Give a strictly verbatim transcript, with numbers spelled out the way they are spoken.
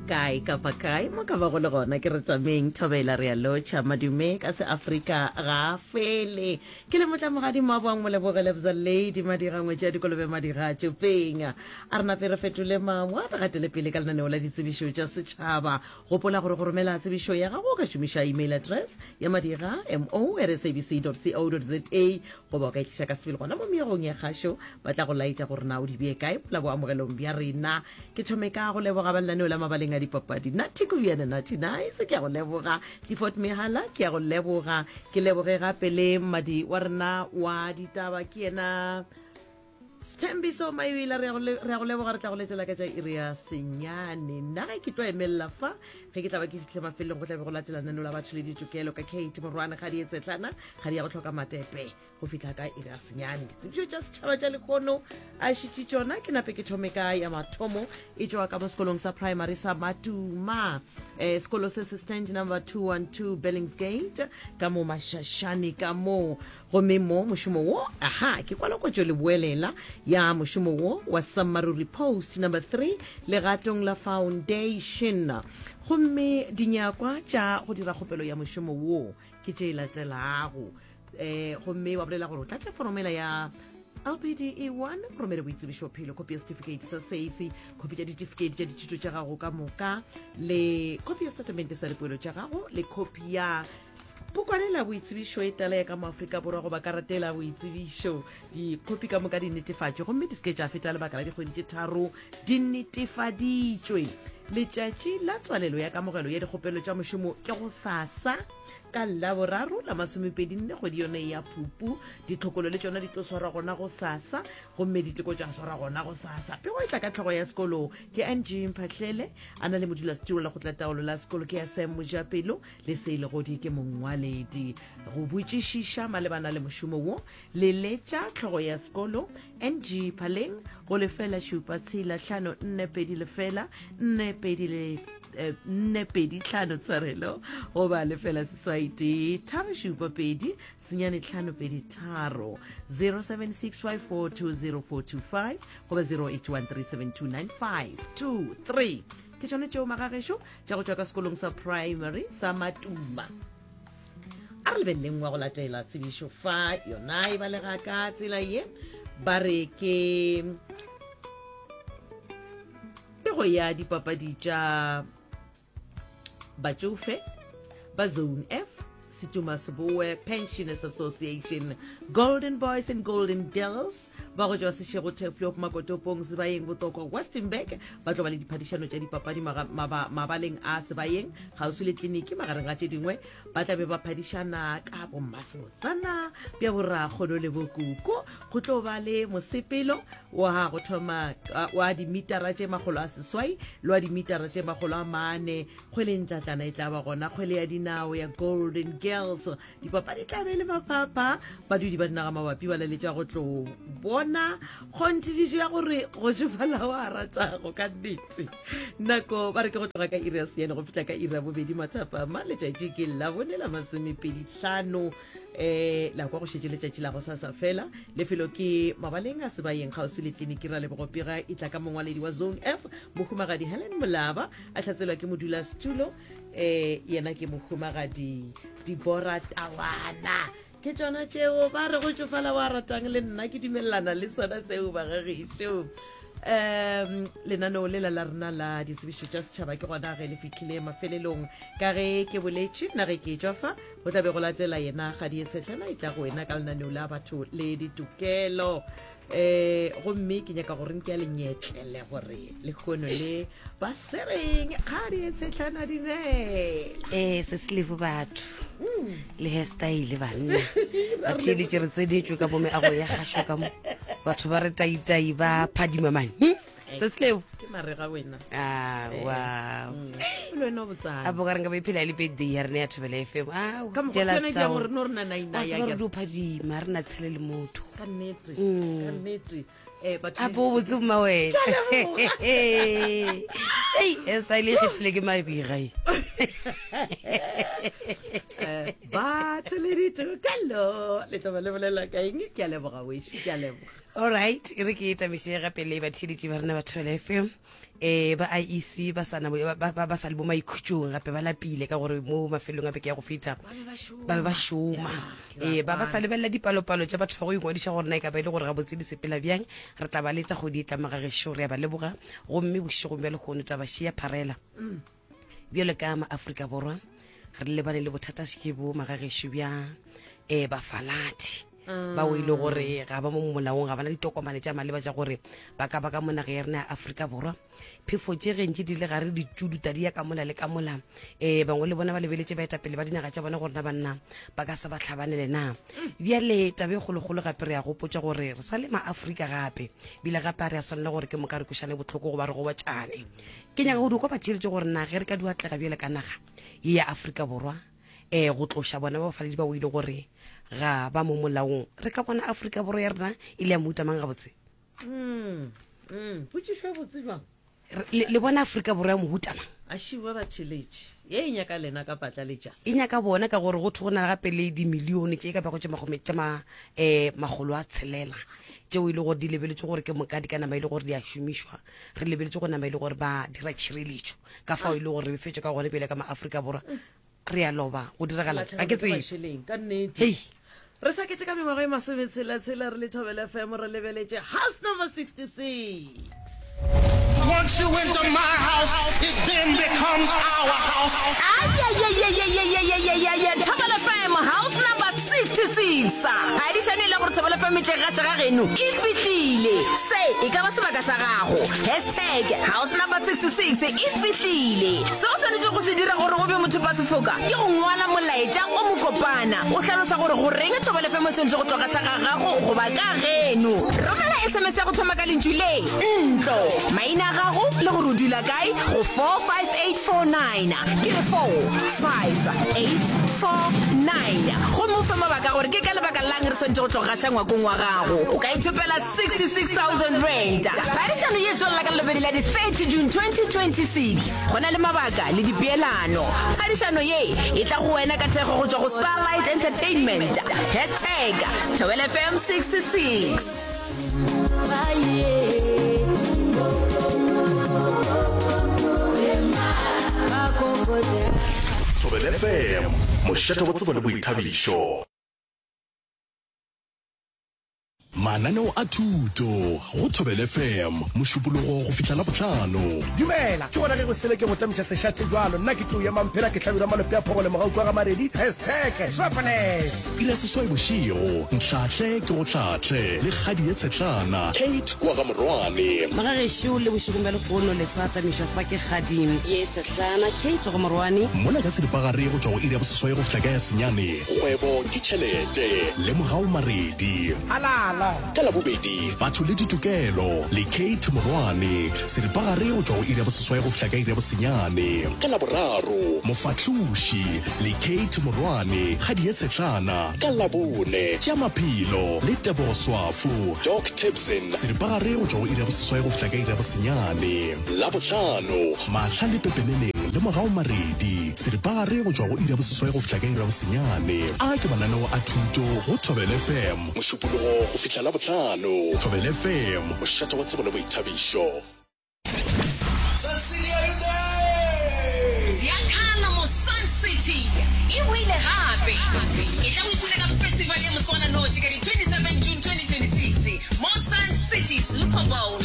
Kae kapa kae mo ka bago le gona, ke re tameng thobela, re a lotšha. Madume ka Seafrika ga a fele. Ke le motlamogadi Mmaboang Moleboge Lebza Lady Madira ngwetši ya dikolobe Madira Tšopeng. A re nape re fetole mangwa, re gatele pele ka lenaneo la ditsebišo tša setšhaba. Gopola gore go romela tsebišo ya gago o ka šomiša email address ya madira mo at sabc dot co dot za, goba o ka itliša ka sebele gona mo meagong ya kgašo, ba tla go laetša gore na o di bee kae mola boamogelong bja rena. Ke thome ka go leboga ba lenaneo la mabaleng a dipapadi, Nathi Kubiana, Nathi Nice, ke a go leboga. Clifford Mehala, ke a go leboga. Ke leboge gape le mmadi wa rena wa ditaba, ke yena Sthembiso Maibila, re a go le- re a go leboga. Re tla go letela ka tša iri ya senyane. Nna ge ke tlo emelela fa, ge ke tla ba ke fitlhe mafelong, go tla be go latela lenaneo la batho le ditokelo ka Kate Morwane ga di etsetlana ga di ya go tlhoka matepe go fihla ka iri ya senyane. Ditsebišo tša setšhaba tša lekgono a šitše tšona. Ke nape ke thome ka ya mathomo, e tšwa ka mo sekolong sa primary sa Matuma, eh, sekolo se se stand number two one two Billingsgate ka mo Mashashane ka mo. Gomme mo mošomo wo, aha, ke kwalakotšo le boelela ya mošomo wo wa Sammaruri Post number three legatong la foundation. Gomme dinyakwa tša go dira kgopelo ya mošomo wo ke tše latelago. eh gomme wa bolela gore o tlatša foromela ya L P D E one, romele boitsebišo phelo, khopi ya certificate sa SACE, khopi tša ditefikeiti tša dithuto tša gago ka moka, le khopi ya setatamente sa dipoelo tša gago, le khopi ya pukwane la boitsebišo e tala ya ka mo Afrika Borwa goba karate la boitsebišo. Dikhopi ka moka di netefatšwe gomme di se ke tša feta lebaka la dikgwedi tše tharo di netefaditšwe. Letšatši la tswalelo ya kamogelo ya dikgopelo tša mošomo ke go sasa ka Laboraro la masomepedi nne kgwedi yone ya Phupu. Ditlhokolo le tšona di tlo swarwa gona go sasa, gomme diteko tša swarwa gona go sasa. Pego e tla ka tlhogo ya sekolo ke Ng Mphahlele, a na le modulasetulo la kgotla taolo la sekolo ke S M Mojapelo, le Seilegodi ke mongwaledi. Go botšišiša malebana le mošomo wo, leletša tlhogo ya sekolo Ng Phaleng go lefela šupa tshela hlano nne pedi lefela nne pedi le eh, nne pedi tlhano, tshwarelo, goba lefela seswai tee tharo šupa pedi senyane tlhano pedi tharo, zero seven six five four two zero four two five goba zero eight one three seven two nine five two three. Ke tšone tšeo magagešo tša go tšwa ka sekolong sa primary sa Matuma. A re lebeleleng wa go latela tsebišo fa, yona e balega ka tsela ye, ba re ke pego ya dipapadi tša batšofe ba Zone F, Setuma Seboe Pensioners Association, Golden Boys and Golden Girls ba go tšwa Sešego Turfloop, Makotopong, Sebayeng, Botokwa, Westenburg, ba tlo ba le diphadišano tša dipapadi maga- maba- mabaleng a Sebayeng kgauswi le tleliniki. Magareng ga tše dingwe, ba tla be ba phadišana ka bommasebotsana bja borakgono le bokoko. Go tlo ba le mosepelo wa go thoma uh, wa dimitara tše makgolo a seswai le wa dimitara tše makgolo a mane. Kgwele ntlatlana e tla ba gona, kgwele ya dinao ya Golden Girls. Dipapadi tla be le maphapha. Badudi ba dinaga mabapi ba laletša go tlo bona kgonthišišo ya gore go tšofala wa ratago ka nnete. Nako ba re ke go tloga ka iri ya senyane go fihla ka iri ya bobedi mathapama. Letšatši ke Labone la masomepedi hlano, um la kwa go šetše letšatši la go sasa fela. Lefelo ke mabaleng a Sebayeng kgauswi le tleliniki. Ra lebogopega e tla ka mongwaledi wa Zone F, mohumagadi Helen Molaba, a hlatselwa ke modulasetulo, um yena ke mohumagadi Dibora Tawana. Ke tšona tšeo, ba re go tšofala wa ratang, le nna ke dumelelana le sona seo bagagešo. um lenaneo lela la rena la ditsebišo tša setšhaba ke gona ge le fihlile mafelelong. Ka ge ke boletše nna ge ke tšwa fa, go tla be go latela yena Kgadi e Tshetlhela, e tla go wena ka lenaneo la batho le ditokelo. eh gomme ke nyaka gore nke ya lenyetlele gore lekgono le ba sereng. Kgadi e Tshetlhana, dumela. Ee, se se lebo batho le hairstyle banna batheeletše, re tsenetšwe ka mo meago ya gašo ka mo, batho ba re taitai ba phadima mane. Se se lebo. Ke marega wena. Ah, wow. Le wena o botsana. A bo ka re nka ba iphela e le birthday ya rena ya Thobela F M. Ka mokgwa ke yona e dirang gore no re na naina ya re dio phadima, re na tshele le motho. Ka nnete, ka nnete, eh batho a bo botse mma wena. Ei, hairstyle e kgethile ke mabega e. Eh, batho le ditokelo le tlo ba le bolela ka eng? Ke a leboga wešo, ke a leboga. Alright, e re ke tamiše gape le batheeletši ba rena ba Thobela F M. um ba I E C ba sa ba, ba, ba sa le bo maikhutšong gape ba lapile ka gore mo mafelong a beke ya go feta ba be ba šoma. Ee, ba ba sa lebelela dipalopalo tša batho ba go ingwadiša gore na e ka ba e le gore gabotse di sepela bjang. Re tla ba letša kgwedi e tla magagešo, re a ba leboga. Gomme bošegong bja lehono taba šia pharela bjalo ka maAfrika Borwa re lebane le bothata ke bo magagešo bja um bafaladi bao e le gore ga ba mo molaong, ga bana ditokomane tša maleba tša gore ba ka ba ka mo naga ya rena ya Afrika Borwa. Phefo tše gentši di le gare ditšuduta di ya ka mola le ka mola. Um bangwe le bona ba lebeletše baetapele ba dinaga tša bona gore na banna ba ka se ba tlhabanele na. Bjale taba e kgolokgolo gape re ya gopotša gore re sa le maAfrika gape, bile gape a re a swanela gore ke moka re kwešane bohloko goba re gobotšane. Ke nyaka go di kwa batheeletše gore na ge re ka di atlega bjale ka naga ye ya Afrika Borwa um go tloša bona ba bafaladi ba o ile gore ga ba mo molaong, re ka bona Afrika Borwa ya rena e le ya mohuta mang gabotse? Mm, mm, potšišo ya botse jwang? Le, le bona Afrika Borwa ya mohuta mang? A šiwa ba theletše ye e nyaka lena ka patla le jase. E nyaka bona ka gore go thwe go na gape le dimilione tše e ka bago tše magome tša ma, eh, makgolo a tshelela tšeo e le gore di lebeletše gore ke moka di ka nama e le gore di a šomišwa. Re lebeletše go nama e le gore ba dira tšhireletšo ka fao e le gore re befetšwe ka gone pele ka maAfrika Borwa. Re a loba go diragala ga ke tsebe. Ka nnete. Hei. Re sa ketše ka mengwaga e masometshela-tshela re le Thobela F M re lebeletše house number sixty-six. Once you enter my house, it then becomes our house. Ay, ay, ay, ay, ay, ay, ay, ay, ay, ay, ay, Thobela F M, house number sixty-six. Phadišano e le gore Thobela F M e tle gaša ga geno e fihlile. Se e ka ba sebaka sa gago. Hashtag house number sixty-six e fihlile. Se o swanetše go se dira gore o be motho pa sefoka ke go ngwala molaetša o mokopana o hlalosa gore goreng Thobela F M e swanetše go tloga ga gago goba ka geno. Romela S M S ya go thoma ka lentšu le ntlo, maina a gago le gore o dula kae go four five eight four nine. Ke re four five eight four nine. Gomme o fe mabaka gore ke ka lebaka lang re swanetše go tloga gaša ngwakong wa gago. O ka ithopela sixty-six thousand rand. Phadišano ye tswelela ka lebedi la di thirty June twenty twenty-six. Go na le mabaka le dipeelano. Phadišano ye e tla go wena ka thekgo go tšwa go Starlight Entertainment. Hashtag Thobela F M sixty-six. Thobela F M, mošate wa tsebo le boithabišo. Mananeo a thuto go Thobela F M mošupologo go fihla Labohlano. Dumela, ke gona ge go sele ke go tamiša sešate jwalo. Nna ke tlo ya mamphela ke hlabirwa malope a phogole mogau kwa ga Maredi. Hashtag Triple-S. Iri ya seswai bošego, Ntlhahle ke go hlahle le kgadi ye tshetlana Kate kwa ga Morwane. Magagešo le bošegong bja lehono le sa tamišwa fa ke kgadi ye tshetlana Kate ga Morwane. Mola ka seripagare go tšwa go iri ya boseswai go fihla ka ya senyane. Kgwebo ke tšhelete le Mogau Maredi. Halala. Ka Labobedi batho le ditokelo le Kate Morwane, seripagare go tšwa go iri ya boseswai go fihla ka iri ya bosenyane. Ka Laboraro Mofahloši le Kate Morwane, kgadi ye tshetlana. Ka Labone tša maphelo le Tebogo Swafo, Doc Tipson, seripagare go tšwa go iri ya boseswai go fihla ka iri ya bosenyane. Labohlano Mahla le Pepeneneng le Mogau Maredi, seripagare go tšwa go iri ya boseswai go fihla ka iri ya bosenyane. A ke mananeo a thuto go Thobela F M mošupologo go fihla Labohlano. Thobela F M, mošate wa tsebo le boithabišo. Cecilia, are you there? Ziakhala mo Sun City e boile gape. E tla go ipshina ka festival ya moswananoši ka di twenty-seven June twenty twenty-six mo Sun City Super Bowl.